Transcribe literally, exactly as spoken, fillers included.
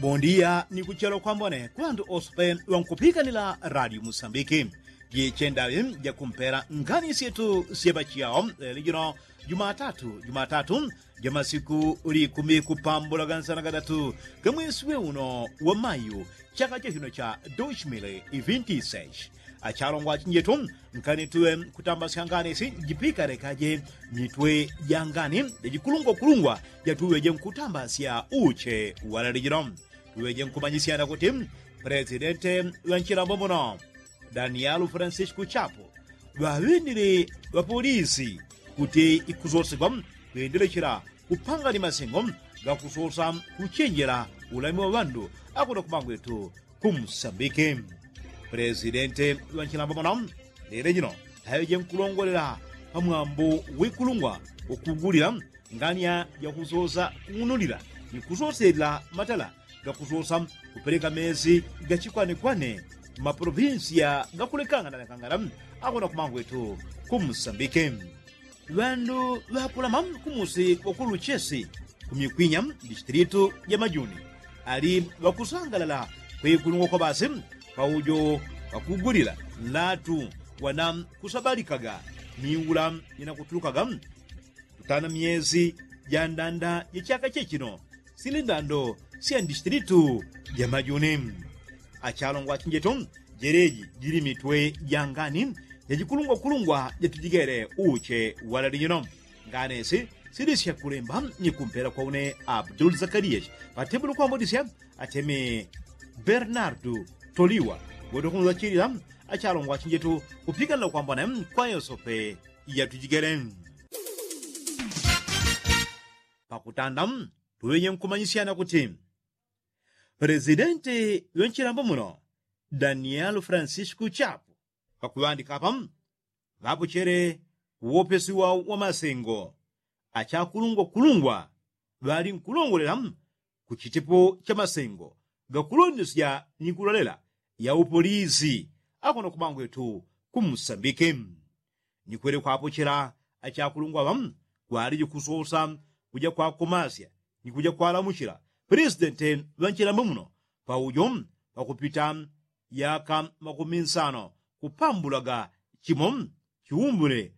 Bondia ni kuchelo kwambone kwandu osope wankupikanila radio musambiki. Jichendawi jakumpela ngani syetu syepachiyao lelo jino jumatatu jumatatu jamasiku likumi kupambula gansana gatatu gamwesi we uno wa mayu chaka chachino cha doshimile ivinti sesh. Achalongwa achinjetu nkani tuwe kutambasya ngani si jipikale kaje mitwe jangani jajikulungwa kulungwa jatuwe jenkutambasya uche walalijilo. Tuwe jenkumanyisyana kuti presidente wanchilambo muno danielu francisco chapo ŵaŵendile ŵapolisi kuti ikusosigwa kwendelechela kupanga ni masengo gakusosa kuchenjela ulami wa ŵandu akuno kumangwetu kumusambike. Presidente wanchilambo muno lelo jino aŵeje nkulongolela pamwambo wikulungwa ukugulila ngania jakusosa kung'unulila ni kusoselela matala gakusosa kupeleka mezi gachikwanekwane maprovinsiya gakulekangana na kangana akona kumangwetu kumusambike. Ŵandu ŵakulama kumusi wakuluchesi kumikwinya distilitu jamajuni ali ŵakusangalala kwekulungwa kwabasi paujo wakugulila nlatu wana kusabalikaga miula jinakutulukaga kutana myezi jandanda jachaka chechino sili ndando sya ndistilitu jamajuni. Achalongwa achinjetu jeleji jili mitwe jangani jajikulungwa kulungwa jatujigele uche walalijino. Nganesi silisya kulemba ni kumpela kwa une abdul zakariyashi patembulu kwambodisya atemi bernardu toliwa wendo kunzachilila. Achalongwa achinjetu kupikanila kwambone kwa yosope yatujigele. Pakutanda tuŵenye nkumanyisyana kuti presidenti ŵenchilambo muno danielu francisco chapo pakuŵandika apa ŵapochele uwopesi wao wa masengo achakulungwa kulungwa ŵali nkulongolela kuchitepo cha masengo gakulondesya ni kulolela ya upolisi akona kumangwetu kumusambike. Ni kwele kwapochela achakulungwa ŵa kwaliji kusosa kuja kwakomasya ni kuja kwalamuchila presidente ŵanchilambo muno paujo pakupita yaka makumi nsano kupambulaga chimo chiumbule